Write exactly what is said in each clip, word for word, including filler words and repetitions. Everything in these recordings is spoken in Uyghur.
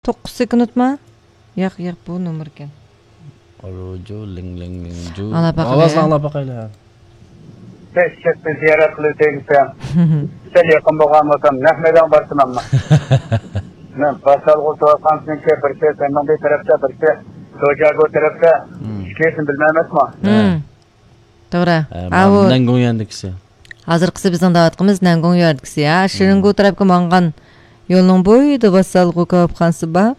توققۇز سېكۇنتما؟ ياق، ياق، بۇ نومۇر ئىكەن. ئالۇجۇ، لىڭ، لىڭ، لىڭجۇ. ئاڭلاپ باقايلى. ئاۋازنى ئاڭلاپ باقايلى. بەش چەتنى زىيارەت قىلىۋېتەي دېسەم، سەل يېقىن بولغان بولسام، نەق مەيدانغا بارسىمەنمۇ؟ مەن باسالغۇ تۇرغانسىنىڭكى بىرسى سەننىڭ بىر تەرەپتە، بىرسى سوجاگو تەرەپتە. مم. ئىككىسىنى بىلمەيمەنمۇ؟ مم. توغرا. ھە، ئاۋۇ نەنگۇڭيۈەندىكىسى. ھازىرقىسى بىزنىڭ دەۋاتقىنىمىز نەنگۇڭيۈەندىكىسى، ھە. مم. شىرىنگۇ تەرەپكە ماڭغان يولنىڭ بويىدا باسالغۇ كاۋاپخانىسى بار.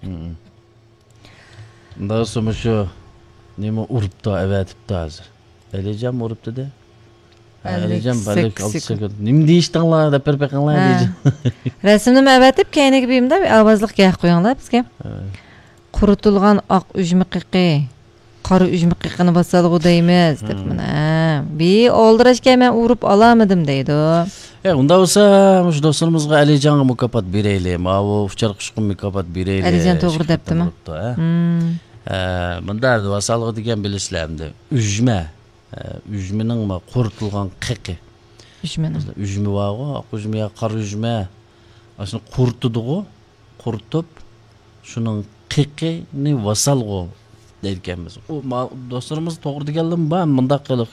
مم. داۋسىمۇ شۇ نېمە ئۇرۇپتۇ، ئەۋەتىپتۇ ھازىر. ئەلىجان ئۇرۇپتۇ دە. ھە، ئەلىجان ئەللىك سەككىز بەلكى ئالتە سېكۇنت. سېكۇنت. نېمە دېيىشتىڭلار دەپ بېرىپ بېقىڭلار، ھە. ئەلىجان. رەسىمنىمۇ ئەۋەتىپ، كەينىگە بېرىمدە ئاۋازلىق گەپ قويۇڭلار بىزگە. ھە. قۇرۇتۇلغان ئاق ئۈجمە قېقى، قارا ئۈجمە قېقىنى باسالغۇ دەيمىز، دەپ مم. مانا. ھە. بى ئالدىراشكەن مەن ئۇرۇپ ئالالمىدىم دەيدۇ. ئە، ئۇنداق بولسا، مۇشۇ دوستلىرىمىزغا ئەلىجانغا مۇكاپات بېرەيلى. ماۋۇ ئۇچار قۇشقا مۇكاپات بېرەيلى. ئەلىجان توغرا دەپتىمۇ؟ ئۇرۇپتۇ، ھە؟ مم. ئە، مۇنداق، ۋاسالغۇ دېگەن بىلىسىلەر ئەمدى. ئۈجمە. ئە، ئۈجمىنىڭ ما قۇرۇتۇلغان قېقى. ئۈجمىنىڭ. مەسىلەن، ئۈجمە بارغۇ، ئاق ئۈجمە يا قارا ئۈجمە. ئاشۇنى قۇرۇتىدىغۇ. قۇرۇتۇپ، شۇنىڭ قېقىنى ۋاسالغۇ دەيدىكەنمىز. ئۇ ما-، دوستلىرىمىز توغرا دېگەنلىرىمۇ بار، مۇنداق قىلىق.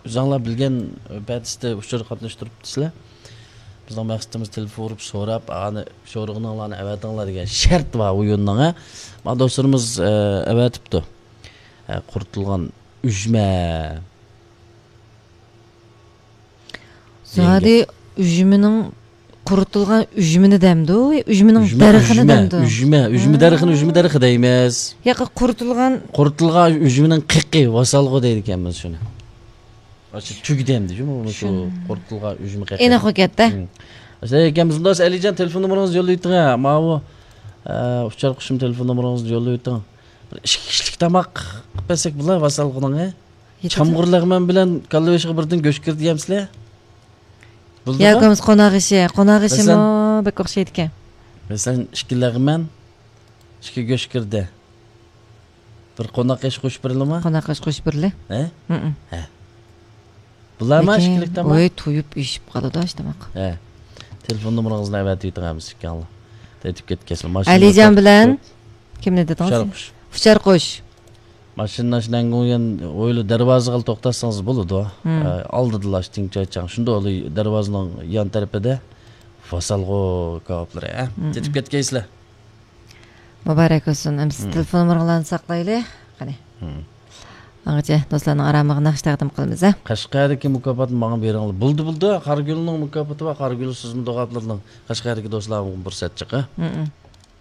ئۆزۈڭلار بىلگەن پەدىستە ئۇچۇر قاتناشتۇرۇپتىسىلەر. بىزنىڭ مەقسىتىمىز تېلېفون ئۇرۇپ سوراپ، ئانى شورىغىنىڭلارنى ئەۋەتىڭلار دېگەن شەرت بار ئويۇننىڭ، ھە. ما دوستلىرىمىز، ئە، ئەۋەتىپتۇ. ھە، قۇرۇتۇلغان ئۈجمە. زادى ئۈجمىنىڭ قۇرۇتۇلغان ئۈجمىنى دەمدۇ؟ ئۈجمىنىڭ ئۈجمە، دەرىخىنى ئۈجمە، دەمدۇ؟ ئۈجمە، ئۈجمە ھا. دەرىخىنى، ئۈجمە دەرىخى دەيمىز. ياقى قۇرۇتۇلغان. قۇرۇتۇلغان ئۈجمىنىڭ قېقى، ۋاسالغۇ دەيدىكەنمىز شۇنى. ئاشۇ تۈگدەمدى شۇ، شۇ شۇن. قۇرۇتۇلغان ئۈجمە قېقى. ئېنىق ئۇ گەپتە. ھىم. ئەسلى ئەكەمىز مۇنداق، ئەلىجان تېلېفون نومۇرىڭىزنى يوللاۋېتىڭ، ھە. ماۋۇ، ئە، ئۇچار قۇشۇم تېلېفون نومۇرىڭىزنى يوللاۋېتىڭ. بىر ئىككى كىشىلىك تاماق قىلىپ بەرسەك بولار، ۋاسالغۇنىڭ، ھە. يېتىدۇ. چامغۇر لەغمەن بىلەن كاللا بېشىغا بىردىن گۆش كىردى يەمسىلەر؟ بولدىغۇ؟ ياكى بولمىسا قوناق ئېشى، قوناق ئېشىمۇ مەسىلەن، بەك ئوخشايدىكەن. مەسىلەن، ئىككى لەغمەن، ئىككى گۆش كىردى. بىر قوناق ئېشى قوشۇپ بېرىلىمۇ؟ قوناق ئېشى قوشۇپ بېرىلە. ھە؟ ھىم. ھە. بۇلارمۇ لېكىن، ئىككىلىك تاماق؟ ۋاي، تويۇپ ئېشىپ قالىدۇ ئاشۇ تاماق. ھە. تېلېفون نومۇرىڭىزنى ئەۋەتىۋېتىڭ ھەممىسى ئىككىڭلار. تېتىپ كەتكەنسىلەر. ماشىنىدا ئەلىجان بىلەن توختىتىپ. كىمنى دېدىڭىز؟ ئۇچار قۇش. ئۇچار قۇش. ماشىنا شۇ نەنگۇڭيۈەن ھويلا دەرۋازىغىلا توختاتسىڭىز بولىدۇ. ھىم. ئە، ئالدىدىلا تىڭچايچاڭ. شۇنداق دەرۋازىنىڭ يان تەرىپىدە ۋاسالغۇ كاۋاپلىرى، ھە؟ ھىم. تېتىپ كەتكەيسىلەر. مۇبارەك بولسۇن. ئەمسە ھىم. تېلېفون نومۇرىڭلارنى ساقلايلى. قېنى. ھىم. ئاڭغىچە دوستلارنىڭ ئارامىغا ناخشا تەقدىم قىلىمىز، ھە؟ قەشقەردىكى مۇكاپاتنى ماڭا بېرىڭلار. بولدى، بولدى. قارىگۈلنىڭ مۇكاپاتى بار. قارىگۈل سىزمۇ دوغاپلىرىنىڭ. قەشقەردىكى دوستلارغا پۇرسەت چىقى. ھىم، ھىم.